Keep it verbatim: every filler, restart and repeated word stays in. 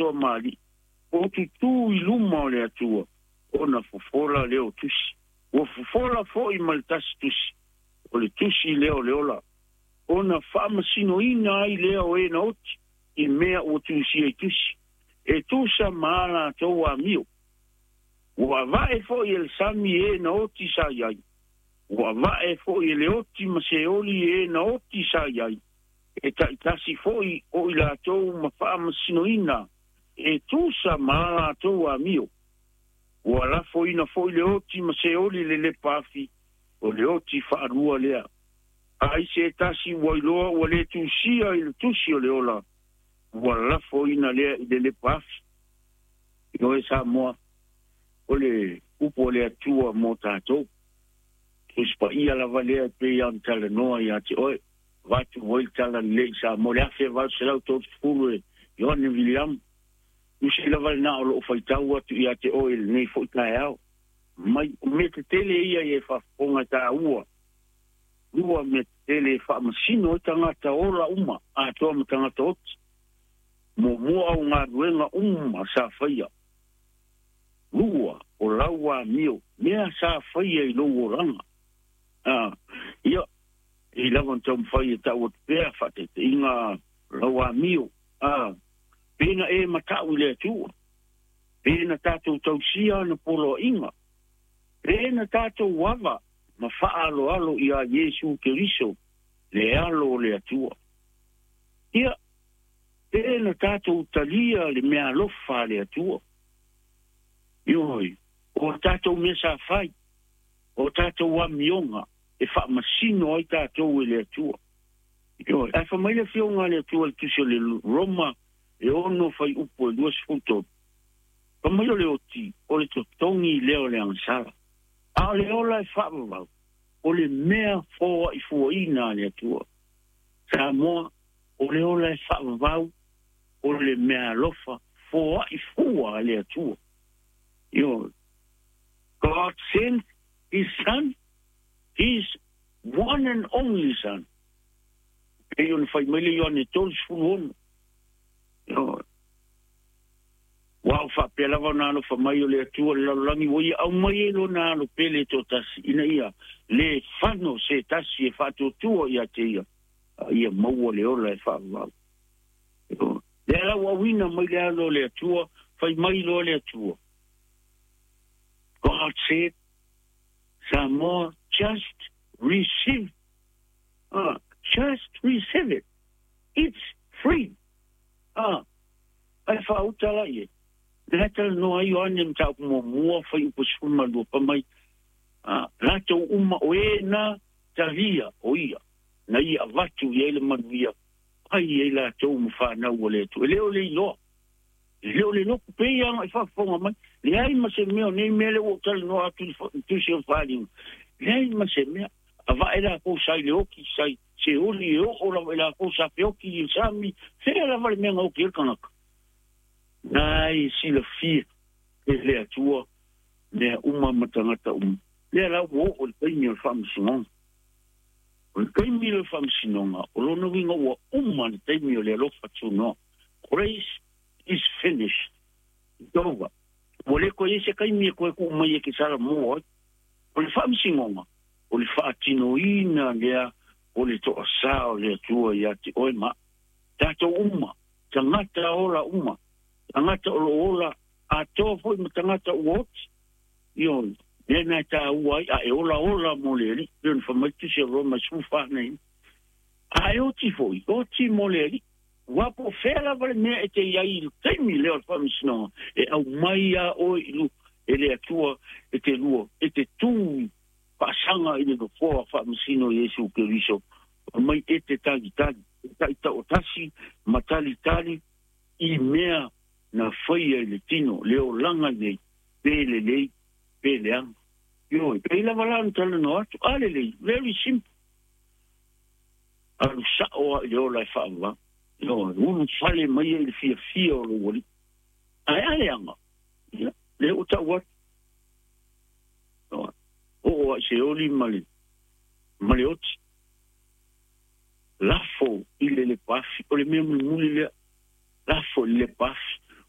atoa ma alii, o tutū i luma o le Atua, ona fofola lea o tusi. Ua fofola fo'i ma le tasi tusi, o le tusi lea o le ola. Ona faamasinoina ai lea o e na oti, i mea ua tusia i tusi. E tusa ma a latou amio. Ua ava'e fo'i e le sami e na oti sa i ai. Ua ava'e fo'i e le oti ma seoli e na oti sa i ai. E ta'itasi fo'i o i latou ma faamasinoina e tusa ma a latou amio. Ua lafoina fo'i le oti ma seoli le lepa afi, o le oti faalua lea. Ai se tasi ua iloa ua lē tusia i le tusi o le ola, ua lafoina lea i le lepa afi. Ioe Samoa, o le upu o le Atua mo tatou. Tusi Paia lava lea e pei ona talanoa ia te oe. Avatu ai le tala lelei i Samoa, le afe valu selau tolu e Ioane Viliamu. Tusi lava lenā o loo faitau atu ia te oe i lenei fo'i taeao. Mai o mea tetele ia e faafofoga taua. Lua mea tetele e faamasino ai tagata ola uma, atoa ma tagata oti. Muamua au galuega uma sa faia. Lua, o lau amio, mea sa faia i lou olaga. Ah, ia, e lava ona taumafai e ta'u atu pea fa'ataitaiga lau amio. Ah, pena e mata'u i le Atua. Pena tatou tausia ana poloa'iga. Pena tatou ava ma fa'aaloalo iā Iesu Keriso, le alo o le Atua. Ia, pena tatou talia le mea alofa a le Atua. Ioe, o tatou mea sa fai, o tatou amioga e faamasino ai tatou e le Atua. Ioe, ae faamai le Afioga a le Atua i le tusi o le Roma e ono fuaiupu e luasefulu tolu. Faamai o le oti, o le totogi lea o le agasala. A o le ola e faavavau, o le mea foa'ifuaina a le Atua. Samoa, o le ola e faavavau, o le mea alofa foa'ifua a le Atua. Ioe. God sent his son, his one and only son. Pei ona fai mai le Ioane tolu sefulu ono. Ioe. Ua o faapea lava ona alofa mai o le Atua le lalolagi ua ia aumai ai lona alo pele toatasi ina ia lē fano se tasi e faatuatua ia te ia, a ia maua le ola e faavavau. Lea la ua auina mai le alo o le Atua, fai mai loa le Atua. God said, Samoa, just receive. Uh, just receive it. It's free. Ah, ai faauta la ie. Le talanoa ai Ioane mataupu muamua fuaiupu sefulu ma lua pa mai. Ah, latou uma o e na talia o ia. Na ia avatu i ai le manuia. Ai ai latou ma whanau o le Atua. E le o le iloa. E le o le loku pe ia anga i faafofoga mai. Leai ma se mea o nei mea le ua ou talanoa atu i tusi o le faaaliga. Leai ma se mea. Ava'e lakou sa i le oki, sa i seoli e oo lava i lakou sa feoki i le sami. Fea lava le mea na oki ai le tagata. Na e silafia e le Atua mea uma ma tagata uma. Lea la ua oo i le taimi o le faamasinoga. O le taimi o le faamasinoga, o lona uiga ua uma le taimi o le alofa tunoa. Grace is finished. It's over. Ua le koe ai se taimi e koe kuu mai e ke sala mo ai. O le faamasinoga, o le faatinoina lea o le toasā o le Atua ia te oe ma. Tatou uma, tagata ola uma, tagata o lo ola, atoa foi ma tagata ua oti. Ioe, lea na e tāua ai, a e ola ola mo le Alii, pei ona faamai tusi o Roma sefulu fa nei. A e oti foi, oti mo le Alii. Ua po fea lava le mea e te iai i le taimi lea o le faamasinoga, e aumai a oe i lu, e le Atua e te lua, e te tū faasaga i le nofoa faamasino Iesu Keriso, mai e te talitali, e taitaotasi ma talitali i mea na faia i le tino, le olaga nei, pe lelei, pe leaga. Ioe, pei lava la ona talanoa atu, a lelei, very simple. Alu sa'o a i le ola e faavavau. Ioe, ulu fale mai ai le fiafia o lou alii. Ae a leaga, ia, lea ua ta'u atu. Ioe, oo ai seoli ma le, ma le oti. Lafo i le lepa afi, o le mea mulimuli lea. Lafo i le lepa afi.